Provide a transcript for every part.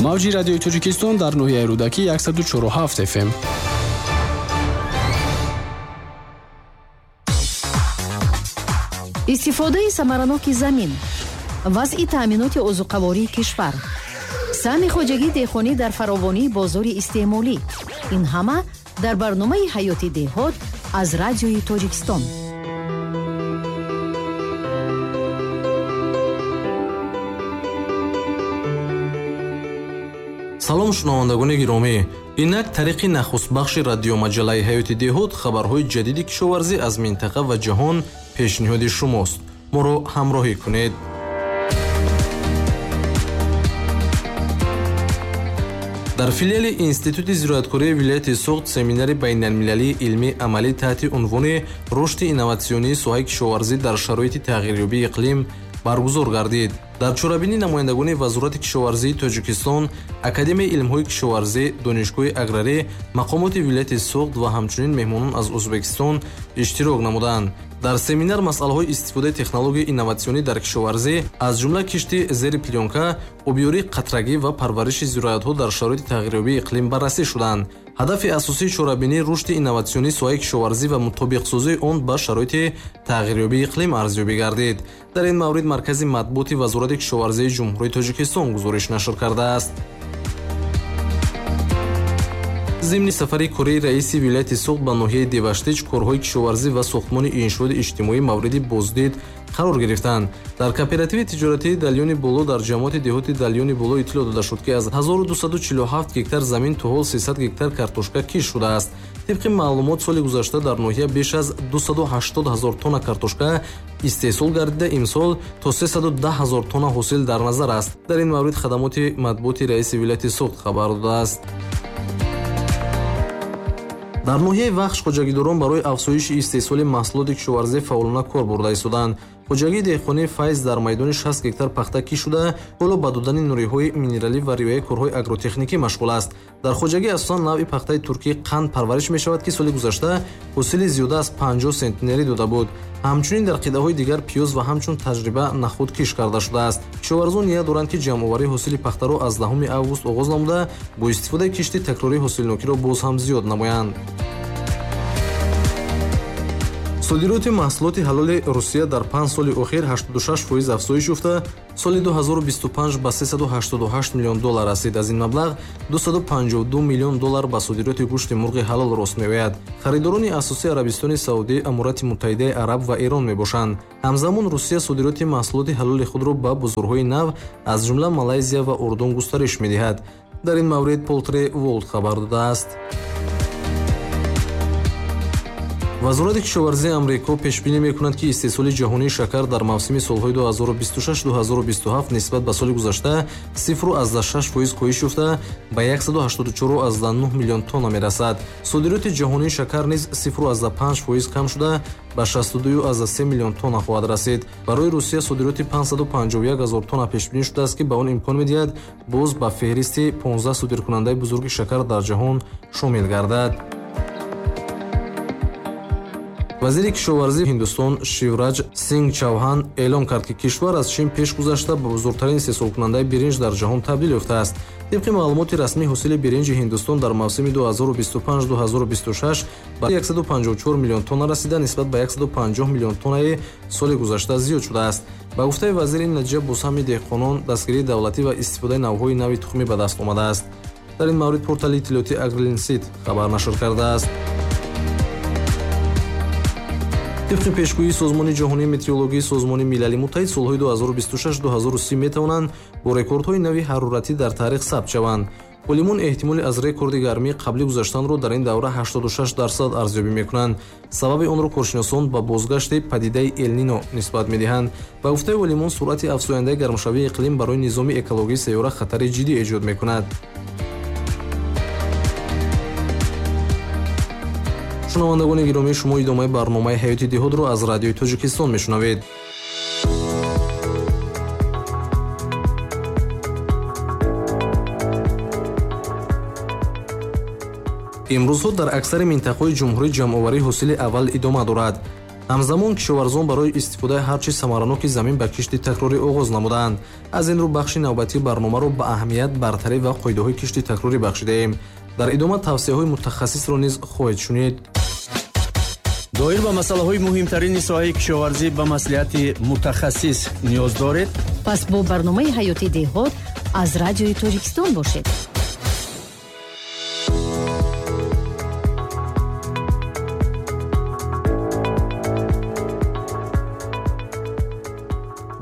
Мавҷи радиои Тоҷикистон дар ноҳияи Рӯдакӣ 104,7 FM. Истифодаи самараноки замин, вазъи таъминоти озуқавории кишвар, саҳми хоҷагии деҳқонӣ дар фаровонии бозори истеъмолӣ. Ин ҳама дар барномаи ҳаёти деҳот аз радиои Тоҷикистон. Салом, шунавандагони гиромӣ. Инак тариқи нахустбахши радиомаҷаллаи ҳаёти деҳот хабарҳои ҷадиди кишоварзӣ аз минтақа ва ҷаҳон пешниҳоди шумост. Моро ҳамроҳӣ кунед. Дар филиали Институти зироаткории вилояти Суғд семинари байналмилалии илмии амалӣ таҳти унвони рушди инноватсионии соҳаи кишоварзӣ дар шароити тағйирёбии иқлим баргузор гардид. Дар чорабинӣ намояндагони Вазорати кишоварзии Тоҷикистон, Академияи илмҳои кишоварзӣ, Донишгоҳи аграрӣ, мақомоти вилояти Суғд ва ҳамчунин меҳмонон аз Ӯзбекистон иштирок намуданд. Дар семинар масъалаҳои истифодаи технологияи инноватсионӣ дар кишоварзӣ, аз ҷумла кишти зери плёнка, обёрии қатрагӣ ва парвариши зироатҳо дар шароити тағйирёбии иқлим баррасӣ шуданд. Ҳадафи асосии чорабинӣ рушди инноватсионии соҳаи кишоварзӣ ва мутобиқсозии он ба шароити тағйирёбии иқлим арзёбӣ гардид. Дар ин маврид Маркази матбуоти Вазорати кишоварзии Ҷумҳурии Тоҷикистон гузориш нашр кардааст. Зимни сафари кории раиси вилояти Суғд ба ноҳияи Деваштич корҳои кишоварзӣ ва сохтмони иншооти иҷтимоӣ мавриди боздид қарор гирифтанд. Дар кооперативи тиҷоратии Далёни Боло дар ҷамоати деҳоти Далёни Боло иттилоъ дода шуд, ки аз 1247 гектар замин то ҳол 300 гектар картошка кишт шудааст. Тибқи маълумот, соли гузашта дар ноҳия беш аз 280 ҳазор тонна картошка истеҳсол гардида, имсол то 310 ҳазор тонна ҳосил дар назар аст. Дар ин маврид хадамоти матбуоти раиси вилояти Суғд хабар додааст. Дар ноҳияи Вахш хоҷагидорон барои афзоиши истеҳсоли маҳсулоти кишоварзӣ фаъолона кор бурда истоданд. Хоҷагии деҳқонии Файз дар майдони 60 гектар пахта кишт шуда, ҳоло ба додани нуриҳои минералӣ ва риояи корҳои агротехникӣ машғул аст. Дар хоҷагӣ асосан навъи пахтаи туркӣ қанд парвариш мешавад, ки соли гузашта ҳосили зиёда аз 50 сентнерӣ дода буд. Ҳамчунин дар қитъаҳои дигар пиёз ва ҳамчун таҷриба нахуд кишт карда шудааст. Кишоварзон ният доранд, ки ҷамъоварии ҳосили пахтаро аз 10 август оғоз намуда, бо истифодаи кишти такрорӣ ҳосилнокиро боз ҳам зиёд намоянд. Содироти маҳсулоти ҳалоли Русия дар 5 соли охир 86% афзоиш ёфта, соли 2025 ба 388 миллион доллар расид. Аз ин маблағ 252 миллион доллар ба содироти гӯшти мурғи ҳалол рост меояд. Харидорони асосии Арабистони Саудӣ, Аморати Муттаҳидаи Араб ва Эрон мебошанд. Ҳамзамон Русия содироти маҳсулоти ҳалоли худро ба бозорҳои нав, аз ҷумла Малайзия ва Урдун густариш медиҳад. Дар ин маврид Полтри Волд хабар додааст. Вазорати кишоварзии Амрико пешбинӣ мекунад, ки истеҳсоли ҷаҳонии шакар дар мавсими солҳои 2026-2027 нисбат ба соли гузашта 0,6% коҳиш ёфта, ба 184,9 миллион тонна мерасад. Содироти ҷаҳонии шакар низ 0,5% кам шуда, ба 62,3 миллион тонна хоҳад расид. Барои Русия содироти 551 ҳазор тонна пешбинӣ шудааст, ки ба он имкон медиҳад боз ба феҳристи 15 содиркунандаи бузурги шакар дар ҷаҳон шомил гардад. Вазири кишоварзии Ҳиндустон Шивраҷ Синг Чавҳан эълон кард, ки кишвар аз Чин пеш гузашта ба бузургтарин истеҳсолкунандаи биринҷ дар ҷаҳон табдил ёфтааст. Тибқи маълумоти расмӣ, ҳосили биринҷи Ҳиндустон дар мавсими 2025-2026 ба 154 миллион тонна расида, нисбат ба 150 миллион тоннаи соли гузашта зиёд шудааст. Ба гуфтаи вазир, ин натиҷа бо саҳми деҳқонон, дастгирии давлатӣ ва истифодаи навъҳои нави тухмӣ ба даст омадааст. Дар ин маврид портали иттилоотии Агрилинсит хабар нашр кардааст. Тибқи пешгӯии Созмони ҷаҳонии метеорологии Созмони Милали Муттаҳид, солҳои 2026-2030 метавонанд бо рекордҳои нави ҳароратӣ дар таърих сабт шаванд. Олимон эҳтимоли аз рекорди гармии қаблӣ гузаштанро дар ин давра 86% арзёбӣ мекунанд. Сабаби онро коршиносон ба бозгашти падидаи Элнино нисбат медиҳанд. Ба гуфтаи олимон, суръати афзояндаи гармшавии иқлим барои низоми экологии сайёра хатари ҷиддӣ эҷод мекунад. Шунавандагони гиромӣ, шумо идомаи барномаи ҳаёти деҳотро аз радиои Тоҷикистон мешунавед. Имрӯзҳо дар аксари минтақаҳои ҷумҳурӣ ҷамъоварии ҳосили аввал идома дорад. Ҳамзамон кишоварзон барои истифодаи ҳарчи самараноки замин ба кишти такрорӣ оғоз намуданд. Аз ин рӯ бахши навбатии барномаро ба аҳамият, бартарӣ ва қоидаҳои кишти такрорӣ бахшидаем. Дар идома тавсияҳои мутахассисро низ хоҳед шунид. Доир ба масъалаҳои муҳимтарини соҳаи кишоварзӣ ба маслиҳати мутахассис ниёз доред? Пас бо барномаи ҳаёти деҳот аз Радиои Тоҷикистон бошед.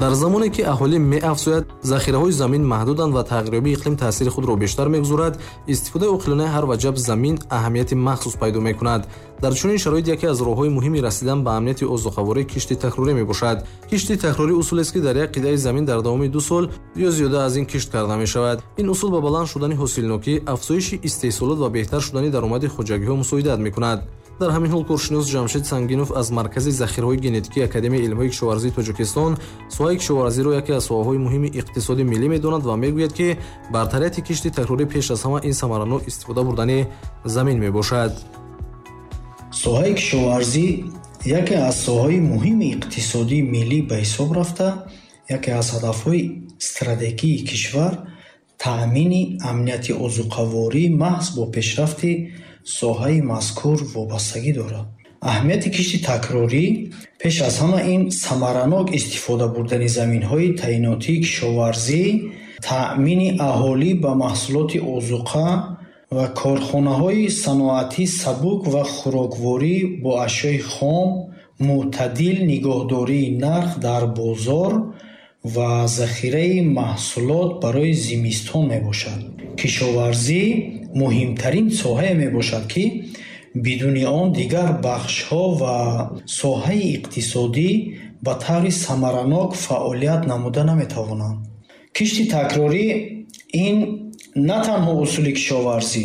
Дар замоне ки аҳолӣ меафзояд, захираҳои замин маҳдуданд ва тағйирёбии иқлим таъсири худро бештар мегузорад, истифодаи оқилонаи ҳар ваҷаб замин аҳамияти махсус пайдо мекунад. Дар чунин шароит яке аз роҳҳои муҳими расидан ба амнияти озуқаворӣ кишти такрорӣ мебошад. Кишти такрорӣ усулест, ки дар як қитъаи замин дар давоми 2 сол ё зиёда аз ин кишт карда мешавад. Ин усул ба баланд шудани ҳосилнокӣ, афзоиши истеҳсолот ва беҳтар шудани даромади хоҷагиҳо мусоидат мекунад. Дар ҳамин ҳол коршинос Ҷамшед Сангинов аз Маркази захираҳои генетикии Академияи илмҳои кишоварзии Тоҷикистон соҳаи кишоварзиро яке аз соҳаҳои муҳими иқтисоди миллӣ медонад ва мегӯяд, ки бартарияти кишти такрорӣ пеш аз ҳама ин самаранок истифода бурдани замин мебошад. Соҳаи кишоварзӣ яке аз соҳаҳои муҳими иқтисодии миллӣ ба ҳисоб рафта, яке аз ҳадафҳои стратегии кишвар таъмини амнияти озуқаворӣ маҳз бо пешрафти соҳаи мазкур вобастагӣ дорад. Аҳамияти кишти такрорӣ пеш аз ҳама ин самаранок истифода бурдани заминҳои таъинотии кишоварзӣ, таъмини аҳолӣ ба маҳсулоти озуқа ва корхонаҳои саноатӣ сабук ва хӯрокворӣ бо ашёи хом, мӯътадил нигоҳдории нарх дар бозор ва захираи маҳсулот барои зимистон мебошад. Кишоварзӣ муҳимтарин соҳае мебошад, ки бидуни он дигар бахшҳо ва соҳаи иқтисодӣ ба таври самаранок фаъолият намуда наметавонанд. Кишти такрорӣ ин на танҳо усули кишоварзӣ,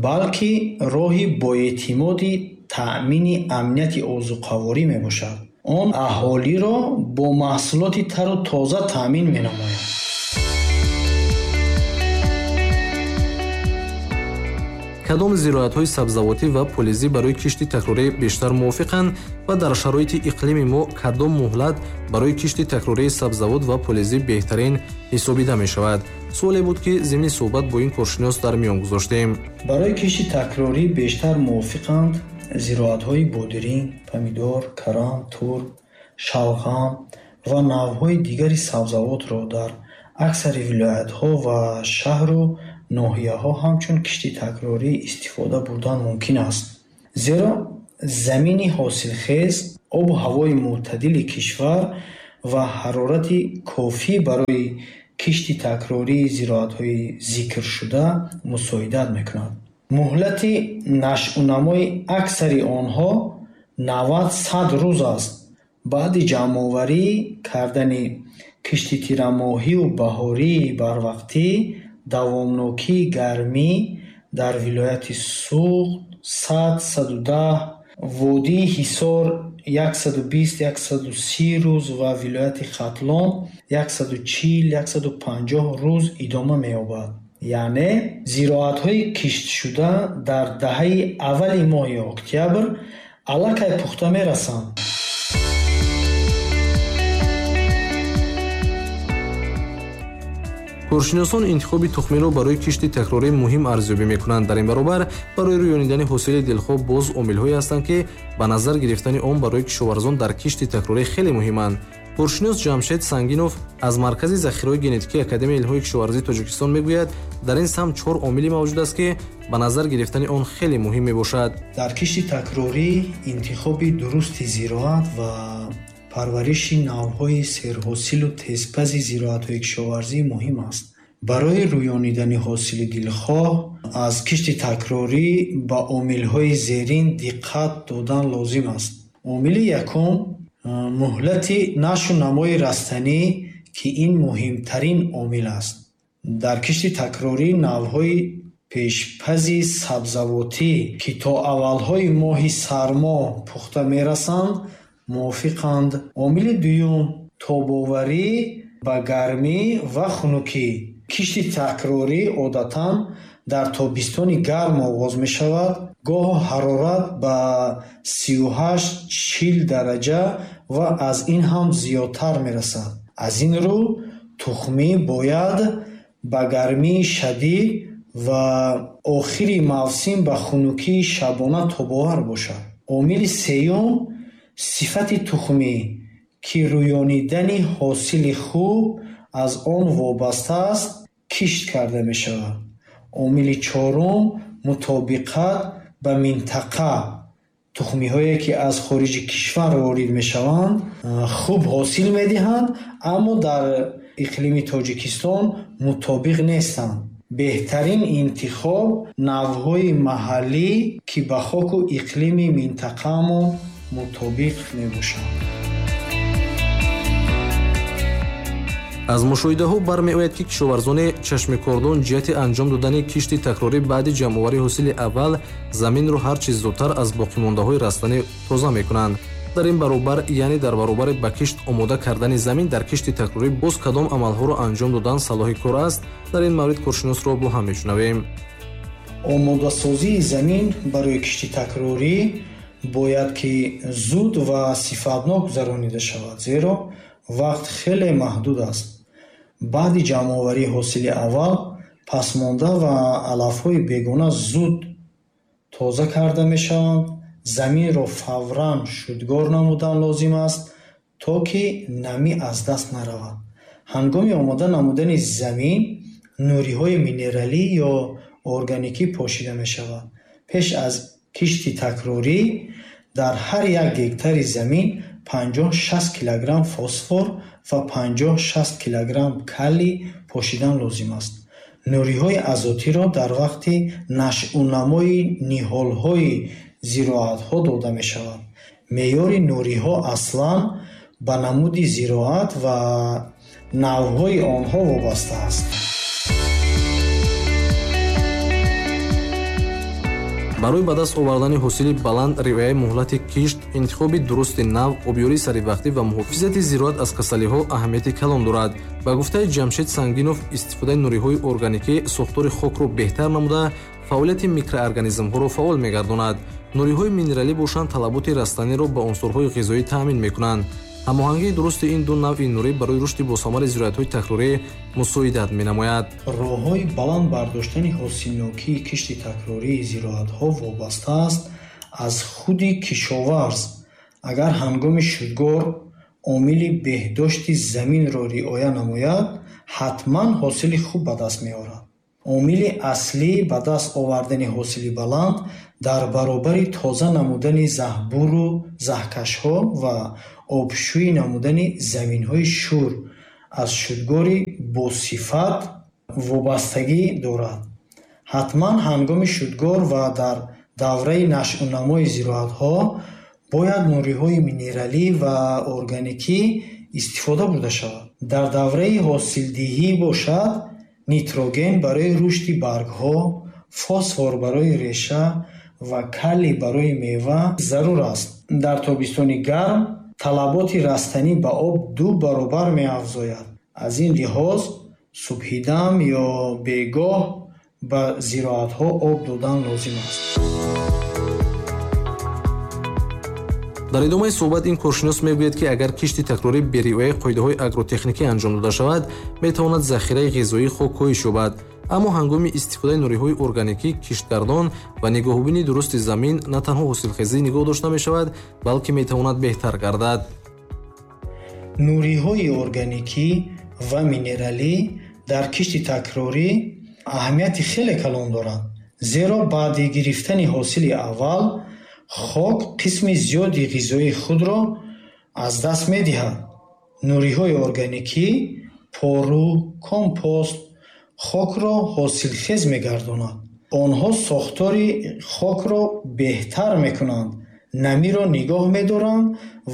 балки роҳи боэътимоди таъмини амнияти озуқаворӣ мебошад. Он аҳолиро бо маҳсулоти тару тоза таъмин менамояд. Кадом зироатҳои сабзавотӣ ва полизӣ барои кишти такрорӣ бештар мувофиқанд ва дар шароити иқлими мо кадом муҳлат барои кишти такрории сабзавот ва полизӣ беҳтарин ҳисобида мешавад? Суоле буд, ки зимни суҳбат бо ин коршинос дар миён гузоштем. Барои кишти такрорӣ бештар мувофиқанд зироатҳои бодиринг, помидор, карам, турп, шалғам ва навъҳои дигари сабзавотро дар аксари вилоятҳо ва шаҳру ноҳияҳо ҳамчун кишти такрорӣ истифода бурдан мумкин аст. Зеро замини ҳосилхез, обу ҳавои мӯътадили кишвар ва ҳарорати кофӣ барои кишти такрории зироатҳои зикршуда мусоидат мекунад. Муҳлати нашъунамои аксари онҳо 90-100 рӯз аст. Баъди ҷамъоварӣ кардани кишти тирамоҳиву баҳории барвақтӣ, давомнокии гармӣ дар вилояти Суғд 100-110, водии Ҳисор 120-130 рӯз ва вилояти Хатлон 140-150 рӯз идома меёбад. Яъне зироатҳои киштшуда дар даҳаи аввали моҳи октябр аллакай пухта мерасанд. Коршиносон интихоби тухмиро барои кишти такрорӣ муҳим арзёбӣ мекунанд. Дар ин баробар барои рӯёнидани ҳосили дилхоҳ боз омилҳое ҳастанд, ки ба назар гирифтани он барои кишоварзон дар кишти такрорӣ хеле муҳиманд. Коршинос Ҷамшед Сангинов аз Маркази захираҳои генетикии Академияи илмҳои кишоварзии Тоҷикистон мегӯяд, дар ин самт 4 омиле мавҷуд аст, ки ба назар гирифтани он хеле муҳим мебошад. Дар кишти такрорӣ интихоби дурусти зироат ва парвариши навъҳои серҳосилу тезпази зироатҳои кишоварзӣ муҳим аст. Барои рӯёнидани ҳосили дилхоҳ аз кишти такрорӣ ба омилҳои зерин диққат додан лозим аст. Омили якум муҳлати нашу намои растанӣ, ки ин муҳимтарин омил аст. Дар кишти такрорӣ навъҳои пешпази сабзавотӣ, ки то аввалҳои моҳи сармо пухта мерасанд, мувофиқанд. Омили дуюм тобоварӣ ба гармӣ ва хунукӣ. Кишти такрорӣ одатан Дар тобистони гарм оғоз мешавад. Гоҳо ҳарорат ба 38-40 дараҷа ва аз ин ҳам зиёдтар мерасад. Аз ин рӯ тухмӣ бояд ба гармии шадид ва охири мавсим ба хунукии шабона тобовар бошад. Омили сеюм сифати тухмӣ, ки рӯёнидани ҳосили хуб аз он вобаста аст, кишт карда мешавад. Омили чорум мутобиқат ба минтақа. Тухмиҳое, ки аз хориҷи кишвар ворид мешаванд, хуб ҳосил медиҳанд, аммо дар иқлими Тоҷикистон мутобиқ нестанд. Беҳтарин интихоб навъҳои маҳаллӣ, ки ба хоку иқлими минтақаамон мутобиқ мебошанд. Аз мушоҳидаҳо бармеояд, ки кишоварзони чашмикордон ҷиҳати анҷом додани кишти такрорӣ баъди ҷамъоварии ҳосили аввал заминро ҳар чиз зудтар аз боқимондаҳои растанӣ тоза мекунанд. Дар ин баробар, яъне дар баробари ба кишт омода кардани замин, дар кишти такрорӣ боз кадом амалҳоро анҷом додан салоҳи кор аст? Дар ин маврид коршиносро бо ҳам мешунавем. Омодасозии замин барои кишти такрорӣ бояд ки зуд ва сифатнок гузаронида шавад, зеро вақт хеле маҳдуд аст. Баъди ҷамъоварии ҳосили аввал пасмонда ва алафҳои бегона зуд тоза карда мешаванд. Заминро фавран шудгор намудан лозим аст, то ки намӣ аз даст наравад. Ҳангоми омода намудани замин нуриҳои минералӣ ё органикӣ пошида мешавад. Пеш аз кишти такрорӣ дар ҳар як гектари замин 50-60 килограмм фосфор ва 50-60 килограмм калий пошидан лозим аст. Нуриҳои азотиро дар вақти нашъунамои ниҳолҳои зироатҳо дода мешавад. Меъёри нуриҳо аслан ба намуди зироат ва навъҳои онҳо вобаста аст. Барои ба даст овардани ҳосили баланд, риояи муҳлати кишт, интихоби дурусти нав, обёрии саривақтӣ ва муҳофизати зироат аз касалиҳо аҳамияти калон дорад. Ба гуфтаи Ҷамшед Сангинов, истифодаи нуриҳои органикӣ сохтори хокро беҳтар намуда, фаъолияти микроорганизмҳоро фаъол мегардонад. Нуриҳои минералӣ бошанд талаботи растаниро ба унсурҳои ғизоӣ таъмин мекунанд. Ҳамоҳангии дурусти ин ду навъи нурӣ барои рушди босамари зироатҳои такрорӣ мусоидат менамояд. Роҳҳои баланд бардоштани ҳосилнокии кишти такрории зироатҳо вобаста аст аз худи кишоварз. Агар ҳангоми шудгор омили беҳдошти заминро риоя намояд, ҳатман ҳосили хуб ба даст меорад. Омили аслӣ ба даст овардани ҳосили баланд дар баробари тоза намудани заҳбуру заҳкашҳо ва обшӯӣ намудани заминҳои шӯр аз шудгори босифат вобастагӣ дорад. Ҳатман ҳангоми шудгор ва дар давраи нашъунамои зироатҳо бояд нуриҳои минералӣ ва органикӣ истифода бурда шавад. Дар давраи ҳосилдиҳӣ бошад, нитроген барои рушди баргҳо, фосфор барои реша ва калий барои мева зарур аст. Дар тобистони гарм талаботи растанӣ ба об 2 баробар меафзояд. Аз ин лиҳоз субҳидам ё бегоҳ ба зироатҳо об додан лозим аст. Дар идомаи суҳбат ин коршинос мегӯяд, ки агар кишти такрорӣ бе риояи қоидаҳои агротехникӣ анҷом дода шавад, метавонад захираи ғизоии хок коҳиш ёбад. Аммо ҳангоми истифодаи нуриҳои органикӣ, киштгардон ва нигоҳубини дурусти замин на танҳо ҳосилхезӣ нигоҳ дошта мешавад, балки метавонад беҳтар гардад. Нуриҳои органикӣ ва минералӣ дар кишти такрорӣ аҳамияти хеле калон доранд, зеро баъди гирифтани ҳосили аввал хок қисми зиёди ғизоии худро аз даст медиҳад. Нуриҳои органикӣ, пору, компост хокро ҳосилхез мегардонад. Онҳо сохтори хокро беҳтар мекунанд, намиро нигоҳ медоранд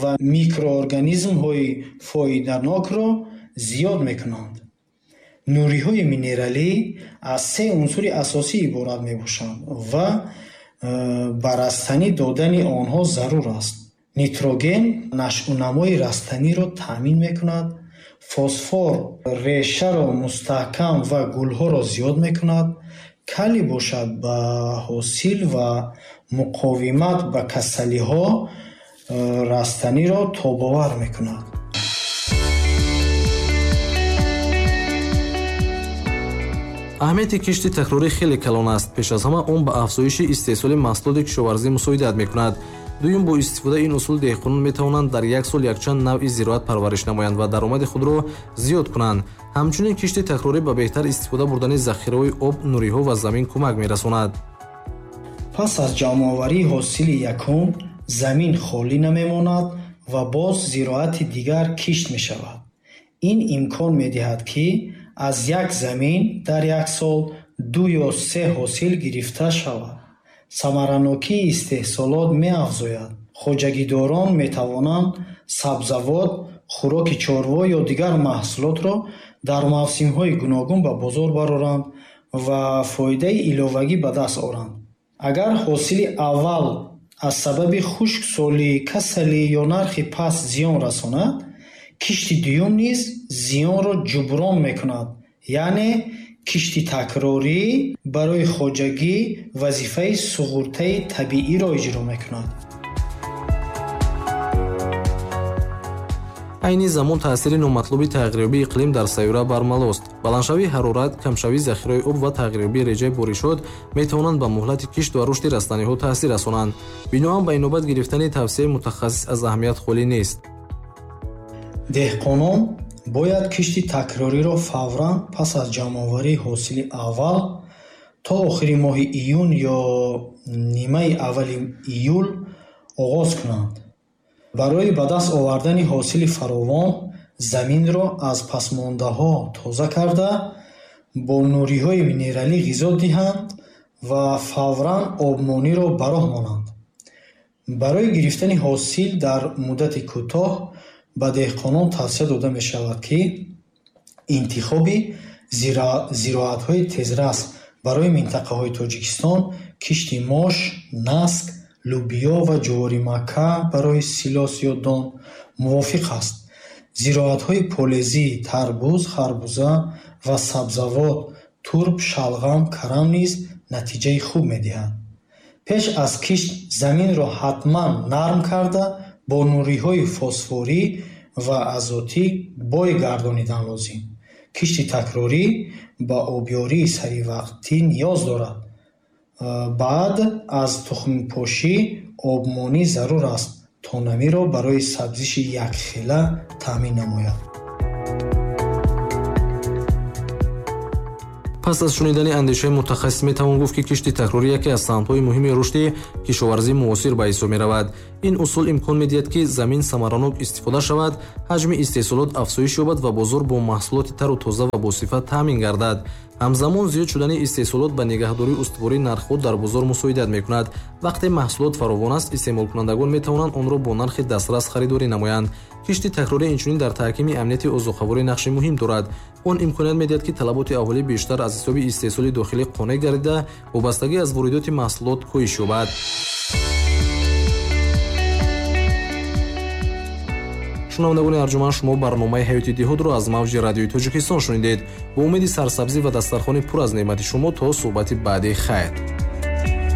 ва микроорганизмҳои фоиданокро зиёд мекунанд. Нуриҳои минералӣ аз 3 унсури асосӣ иборат мебошанд ва ба растанӣ додани онҳо зарур аст. Нитроген нашъунамои растаниро таъмин мекунад, фосфор решаро мустаҳкам ва гулҳоро зиёд мекунад, Калий бошад ба ҳосил ва муқовимат ба касалиҳо растаниро тобовар мекунад. Аҳамияти кишти такрорӣ хеле калон аст. Пеш аз ҳама он ба афзоиши истеҳсоли маҳсулоти кишоварзӣ мусоидат мекунад. Дуюм, бо истифодаи ин усул деҳқонон метавонанд дар як сол якчанд навъи зироат парвариш намоянд ва даромади худро зиёд кунанд. Ҳамчунин кишти такрорӣ ба беҳтар истифода бурдани захираҳои об, нуриҳо ва замин кӯмак мерасонад. Пас аз ҷамъоварии ҳосили якум замин холӣ намемонад ва боз зироати дигар кишт мешавад. Ин имкон медиҳад, ки аз як замин дар як сол 2 ё 3 ҳосил гирифта шавад. Самаранокии истеҳсолот меафзояд. Хоҷагидорон метавонанд сабзавот, хӯроки чорво ё дигар маҳсулотро дар мавсимҳои гуногун ба бозор бароранд ва фоидаи иловагӣ ба даст оранд. Агар ҳосили аввал аз сабаби хушксолӣ, касалӣ ё нархи паст зиён расонад, кишти дуюм низ зиёнро ҷуброн мекунад. Яъне кишти такрорӣ барои хоҷагӣ вазифаи суғуртаи табииро иҷро мекунад. Айни замон таъсири номатлуби тағйирёбии иқлим дар сайёра бармалост. Баландшавии ҳарорат, камшавии захираҳои об ва тағйирёбии реҷаи боришот метавонанд ба муҳлати кишт ва рушди растаниҳо таъсир расонанд. Биноан ба инобат гирифтани тавсияи мутахассис аз аҳамият холӣ нест. Деҳқонон бояд кишти такрориро фавран пас аз ҷамъоварии ҳосили аввал то охири моҳи июн ё нимаи аввали июл оғоз кунанд. Барои ба даст овардани ҳосили фаровон заминро аз пасмондаҳо тоза карда, бо нуриҳои минералӣ ғизо диҳанд ва фавран обмониро ба роҳ монанд. Барои гирифтани ҳосил дар муддати кӯтоҳ ба деҳқонон тавсия дода мешавад, ки интихоби зироатҳои тезрас барои минтақаҳои Тоҷикистон кишти мош, наск, лӯбиё ва ҷуворимакка барои силос ё дон мувофиқ аст. Зироатҳои полезӣ, тарбуз, харбуза ва сабзавот, турб, шалғам, карам низ натиҷаи хуб медиҳанд. Пеш аз кишт заминро ҳатман нарм карда, бо нуриҳои фосфорӣ ва азотӣ бой гардонидан лозим. Кишти такрорӣ ба обёрии саривақтӣ ниёз дорад. Баъд аз тухмпошӣ обмонӣ зарур аст, то намиро барои сабзиши якхела таъмин намояд. Пас аз шунидани андешаи мутахассис метавон гуфт, ки кишти такрорӣ яке аз самтҳои муҳими рушди кишоварзии муосир ба ҳисоб меравад. Ин усул имкон медиҳад, ки замин самаранок истифода шавад, ҳаҷми истеҳсолот афзоиш ёбад ва бозор бо маҳсулоти тару тоза ва босифат таъмин гардад. Ҳамзамон зиёд шудани истеҳсолот ба нигаҳдории устувории нархҳо дар бозор мусоидат мекунад. Вақте маҳсулот фаровон аст, истеъмолкунандагон метавонанд онро бо нархи дастрас харидорӣ намоянд. Кишти такрорӣ инчунин дар таҳкими амнияти озуқаворӣ нақши муҳим дорад. Он имконият медиҳад, ки талаботи аҳолӣ бештар аз ҳисоби истеҳсоли дохилӣ қонеъ гардида, вобастагӣ аз воридоти маҳсулот коҳиш ёбад. Шунавандагони арҷуман, шумо барномаи ҳаёти деҳотро аз мавҷи радиои Тоҷикистон шунидед. Бо умеди сарсабзӣ ва дастархони пур аз неъмати шумо то суҳбати баъдӣ хайр.